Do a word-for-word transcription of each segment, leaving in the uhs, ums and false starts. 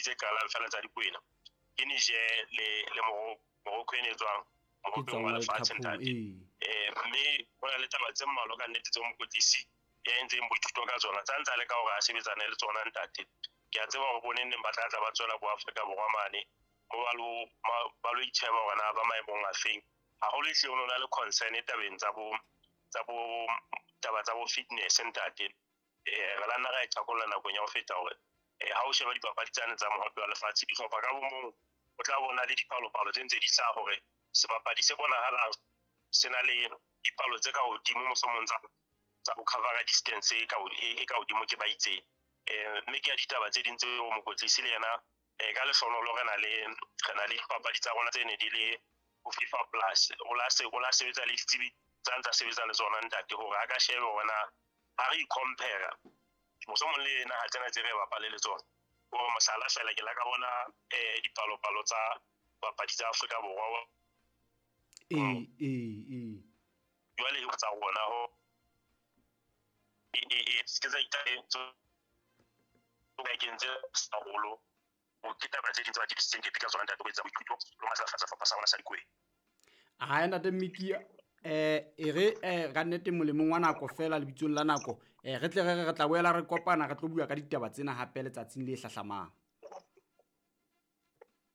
tse qalang fela tsa Dikwena ke Niger le le Morocco e ne tswang mohopeng wa lefatshe ntate. Eh mme ho na le taba tse mmalwa ka nnete tse mokwetlisi ya entseng boithuto ka tsona tsa ntse a leka hore a sebetsane le tsona ntate. Ke a tseba hore bo neng neng ba tla tla ba tswela bo Afrika Borwa mane mo ba lo ba lo itjheba hore na ba maemong a feng. Haholo ehlile ho na le concern tabeng tsa bo tsa bo taba tsa bo fitness ntate. Eh re la nna ra e thakolla nakong ya ho feta hore eh ha o sheba dipapadi tsane tsa mohope wa lefatshe dihlopha ka bo mong o tla bona le dipalopalo tse ntse di hlaha hore sebapadi se bonahalang se na le dipalo tse ka hodimo mohlomong tsa tsa ho cover distance e ka e ka hodimo ke ba itseng. Eh mme ke ya ditaba tse ding tseo mokwetlisi le yena eh ka lehlohonolo re na le re na le dipapadi tsa rona tse ne di le ho FIFA Plus o la se o la sebetsa le ditsebi tsa ntsa sebetsa le tsona ntate hore a ka shebe hore na ha re i-compare mohlomong le naha tsena tse re bapale le tsona. Hore mohlala fela ke la ka bona eh dipalopalo tsa papadi tsa Afrika Borwa eh eh eh jwale tsa rona ho e e ke tsa itse bakeng tse haholo o ke taba tse ding tse ba tiisitseng ke ka tsona ntate ho etsa boithuto le matlafatsa sehlopha sa rona sa Dikwena. Ha ntate Miki eh e re eh ka nnete molemong wa nako fela lebitsong la nako eh re tle re re tla boela re kopana re tlo bua ka ditaba tsena hape letsatsing le hlahlamang.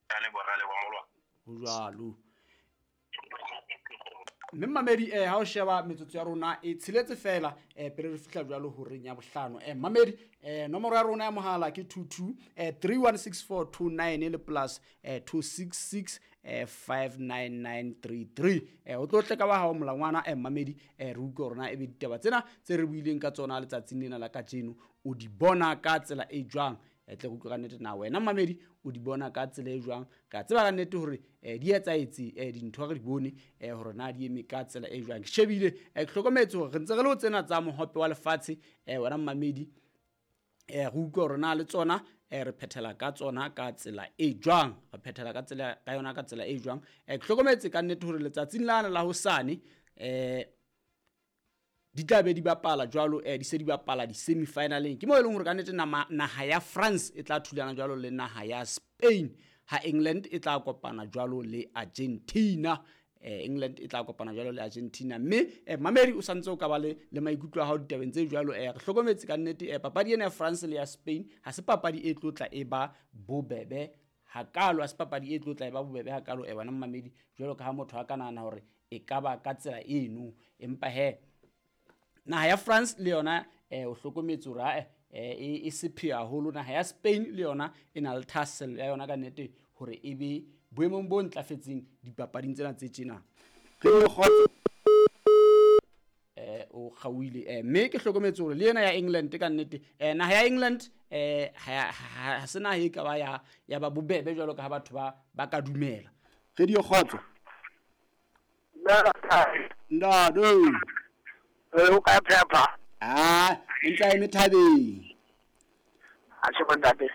Ka leboha ra leboha molwa. Ho jwalo. Mme mamedi eh ha o sheba metsotso ya rona e tsheletse fela eh pele re fihla jwalo horeng ya bohlano. Eh mamedi eh nomoro ya rona ya mohala ke two two eh three one six four two nine le plus eh two six six eh five nine nine three three. Eh o tlo tle ka ba hao molangwana eh mamedi eh re utlwe rona e be ditaba tsena tse re buileng ka tsona letsatsing lena la kajeno o di bona ka tsela e jwang. E tle go utlwa ka nnete na wena mamedi o di bona ka tsela e jwang. Ka tseba ka nnete hore eh di etsaetse eh dintho re di bone eh hore na di eme ka tsela e jwang. Ke shebile eh ke hlokometse hore re ntse re le ho tsena tsa mohope wa lefatshe eh wena mamedi eh re utlwe hore na le tsona eh re phethela ka tsona ka tsela e jwang, re phethela ka tsela ka yona ka tsela e jwang. Eh ke hlokometse ka nnete hore letsatsing lana la hosane eh di tla be di bapala jwalo eh di se di bapala di semi-finaleng. Ke mo e leng hore ka nnete naha ya France e tla thulana jwalo le naha ya Spain, ha England e tla kopana jwalo le Argentina. Eh England e tla kopana jwalo le Argentina. Mme eh mamedi o santse o ka ba le le maikutlo a hao ditabeng tse jwalo. Eh re hlokometse ka nnete eh papadi ena ya France le ya Spain ha se papadi e tlotla e ba bobebe hakalo, ha se papadi e tlotla e ba bobebe hakalo eh wena mamedi jwalo ka ha motho a ka nahana hore e ka ba ka tsela eno. Empa he naha ya France le yona eh o hlokometse hore eh e sepheo haholo. Naha ya Spain le yona e na le thahasello ya yona ka nnete hore e be boemong bo ntlafetseng dipapading tsena tse tjena. Eh o kgauile eh mme ke hlokometse hore le yena ya England ka nnete eh naha ya England eh ha ha se naha e ka ba ya ya ba bobebe jwalo ka ha batho ba ba ka dumela. Radio Kgotso. Ndado. O ka phepha. Ah, ntse a eme thabeng. A tjhe bontate.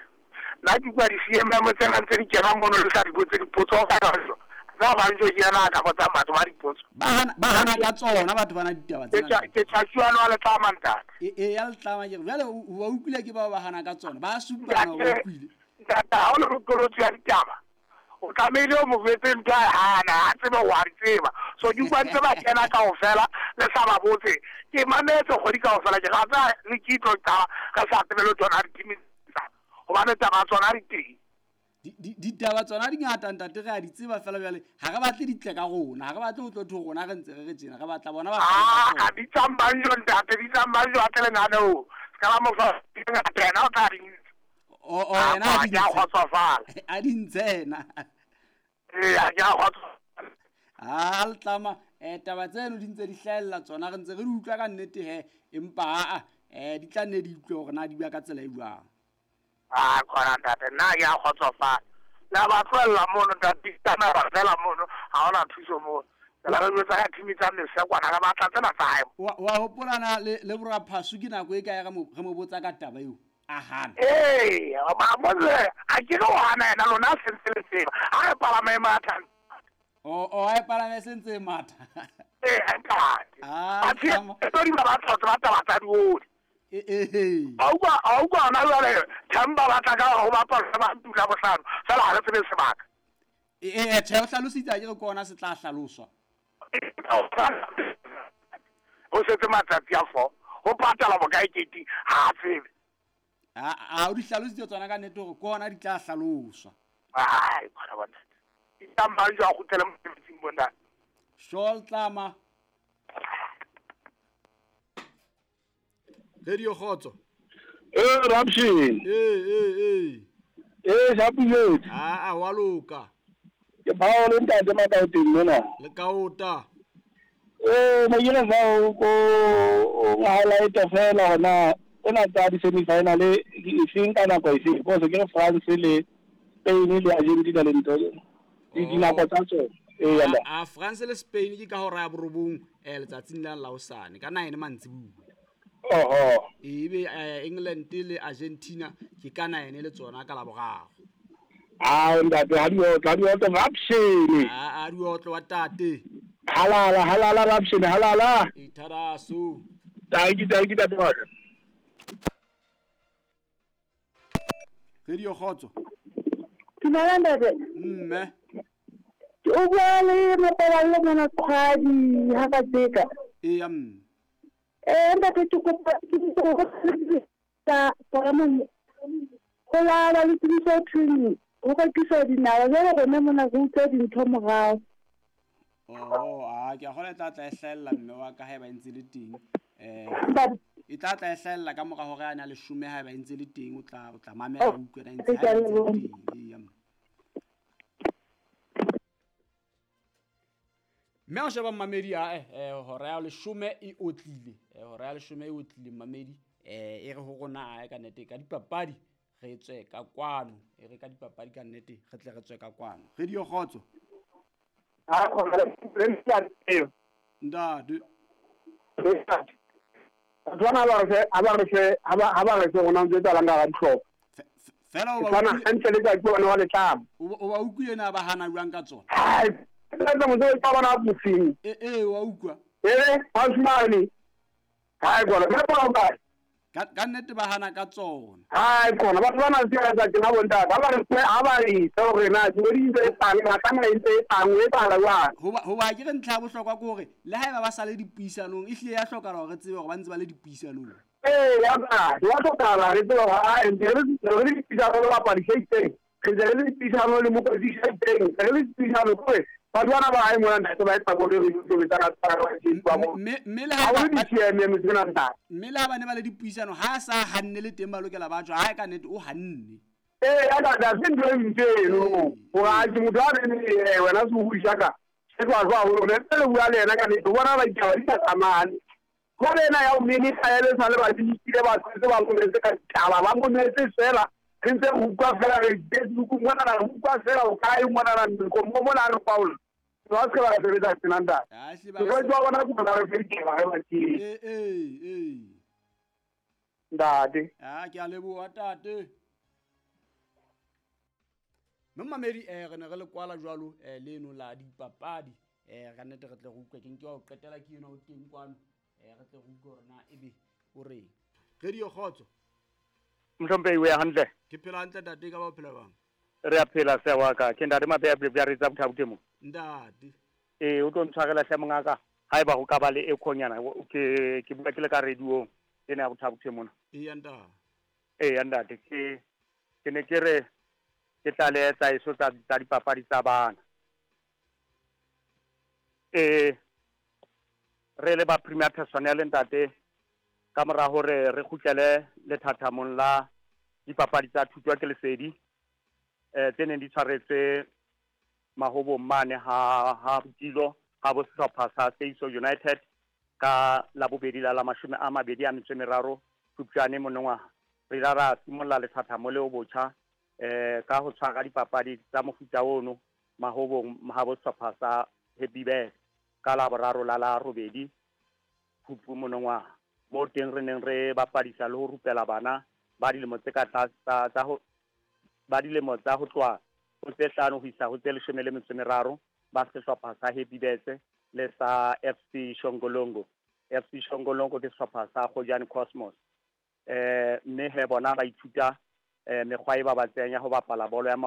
Nna ke kwa di-C M M tsena tse di kenang mono le sa di botse dipotso ka jwalo. Nna ba ntse ke yana ka botsa batho ba dipotso. Ba hana ba hana ka tsona batho bana ditaba tsena. Ke tjha wa letlama ntate. E e ya letlama ke jwale o utlwile ke ba ba hana ka tsona. Ba supana o utlwile. Ntate ha o le moqolotsi ya ditaba. O tlamehile o mo jwetse ntho a hana, a tsebe wa di tseba. So di utlwa ntse ba kena kaofela le sa ba botse. Ke mametse kgwedi kaofela ke rata le ke itlo taba re sa tsebe le tsona di hobane taba tsona di teng. Ditaba tsona di ngata ntate re a di tseba fela jwale ha re batle di tle ka rona, ha re batle ho tlo tho rona re ntse re re tjena, re batla bona ba ah di tsambanjo ntate di tsambanjo a tle lenaneo. Ska la mo fa ngata yena o tla di o o yena a di a kgotsofala. A di ntse yena. Eh a ke a kgotsofala. Ah letlama eh taba tseno di ntse di hlahella tsona re ntse re di utlwa ka nnete he empa a eh di tla nne di utlwe hore na di bua ka tsela e jwang. Ah khona ntate nna ke a kgotsofala. La ba tlohella mono ntate tsana ba fela mono ha hona thuso mono. La re jwetsa ka team tsa mesekwana re batla tsena tsa hae. Wa wa hopolana le le boraphasu ke nako e kae re mo re mo botsa ka taba eo. A hana. Eh ba motse a ke no hana yena lona se ntse le tseba. Ha re palama e matha. O o a palama e sentse e matha. Eh ntate. Ah tlo di ba batla ba taba tsa dioli. A utlwa a utlwa hona jwale Themba ba tla ka ho bapala ba ntula bohlano fela ha re tsebe sebaka. Eh tjhe o hlalositse a ke re ke ona se tla hlaloswa. Ho setse matsatsi a four ho patala bokae keti ha tsebe. A a o di hlalositse tsona ka nnete hore ke ona di tla hlaloswa. Ai bona bona. Itamba jo a kgutlele mosebetsing bona. Shol tlama. Radio Khotso. Eh Rapshin. Eh eh eh. Eh Shapile. Ah ah wa loka. Ke bao le ntate Makaoteng mona. Le kaota. Eh mo yena fa o o highlight fela hona ona tsa di semi final e feng ka nako e feng because ke France le Spain le Argentina le ntho di dinako tsa tsona. Eh yanda. Ah France le Spain ke ka hora ya borobong eh letsatsing la la hosane ka nine mantsibuya. Oho. Ebe England le Argentina ke ka nine le tsona ka la boraro. Ah ntate ha di otlo ha di otlo Rapshin. Ah ha di otlo wa tate. Halala halala Rapshin halala. Itharaso. Thank you thank you tate wa ka. Radio Khotso. Dumela ntate. Mme. O bua le Mapaballo mona Qhwadi ha ka tseka. Eya mme. Eh ntate ke kopa tsa paramo go la ba le tsebiso thweng ho rekiswa dinawa jwale rona mona re utlwa dintho morao. Oh a ke a kgona e tla tla e hlahella mme wa ka haeba e ntse le teng. Eh e tla tla e hlahella ka mora hore a na leshome haeba e ntse le teng o tla o tla mamela o utlwe na ntse ha e ntse le teng. Eya mme. Mme o sheba mmamedi a eh hora ya leshome e otlile hora ya leshome e otlile mmamedi eh e re ho rona a ka nnete ka dipapadi re tswe ka kwano e re ka dipapadi ka nnete re tle re tswe ka kwano. Radio Khotso. Ha khona le ntate. Tswana ba re ha ba re ha ba ha ba re rona ntse tsa langa ga dihlopha. Fela o ba tswana hantle le ka ke bona wa letlamo. O ba utlwile na ba hana jwang ka tsona? Hai tsa motho ba bona bofing. Eh eh wa utlwa. Eh hausimane. Hai gona ba ba ba. Ka ka nnete ba hana ka tsona. Hai gona batho ba na tsela tsa tsena bontate. Ha ba re ha ba re tsa hore na di ntse e tang ba tsamaya ntse e tang e tala jwang. Ho ba ho ba ke re ntlha ya bohlokwa ke hore le haeba ba sa le dipuisanong e hlile ya hlokahala hore re tsebe hore ba ntse ba le dipuisanong. Eh ya ba, ya hlokahala re tsebe hore ha ntse re re le dipuisano le bapadi se itseng. Re ntse re le dipuisano le mokwetlisi a itseng. Re le dipuisano hore batho bana ba hae mona ntate ba etsa bolo re tobetsana tsa ba mme mme le ha ba di-T M M tsena ntate. Mme le ha ba ne ba le dipuisano ha sa hanne le teng ba lokela ba tswa ha ka nnete o hanne. Eh ya ka da se ntho e ntse eno hore a ke motho a re eh wena se o buisa ka se twa jwa hore ne le bua le yena ka nnete o bona ba ditaba di sa tsamane. Jwale ena ya o minister ya le sa le ba dikile ba tse ba ngoletse ka ditaba ba ngoletse fela re ntse re utlwa fela re Facebook mona re utlwa fela o kae mona ra ko mo mona re Paul ba se ba sebetsa tsena ntate. Ha se ba Ke jwa bona go ba re fedile ba re ke. Eh eh eh. Ntate. Ah ke a leboha tate. Mme mamedi eh re ne re le kwala jwalo eh leno la dipapadi eh ka nnete re tle re utlwe ke nke wa o qetela ke ena o teng kwano eh re tle re utlwe hore na ebe o reng. Radio Khotso. Mhlomphehi o ya hantle. Ke phela hantle tate ka ba o phela bang. Re a phela se wa ka ke ntate Mapeya ya re tsa bothabothe mo. Ntate. Eh o tlo ntshwarela hle mongaka haeba ho ka ba le ekhonyana ke ke bua ke le ka radio ena ya bothabothe mona. Eya ntate. Eh ntate ke ke ne ke re ke tla le tsa iso tsa tsa dipapadi tsa bana. Eh re le ba premier personnel ntate ka mora hore re kgutlele lethathamong la dipapadi tsa thuto ke lesedi eh tse neng di tshwaretswe mahobong mane ha ha Botilo ha bo sehlopha sa Seiso United ka la bobedi la la mashome a mabedi a metso e meraro Phupjane monongwaha. Re la ra simolla lethathamo leo botjha eh ka ho tshwara dipapadi tsa mofuta ono mahobong ha bo sehlopha sa Happy Bears ka la boraro la la robedi Phupu monongwaha. Mo teng re neng re bapadisa le ho rupela bana ba dilemo tse ka tlase tsa ho ba dilemo tsa ho tloha ho tse hlano ho isa ho tse leshome le metso e meraro ba sehlopha sa Happy Bears le sa F C Shongolongo. F C Shongolongo ke sehlopha sa Kgojane Cosmos. Eh mme he bona ba ithuta eh mekgwa e babatsehang ya ho bapala bolo ya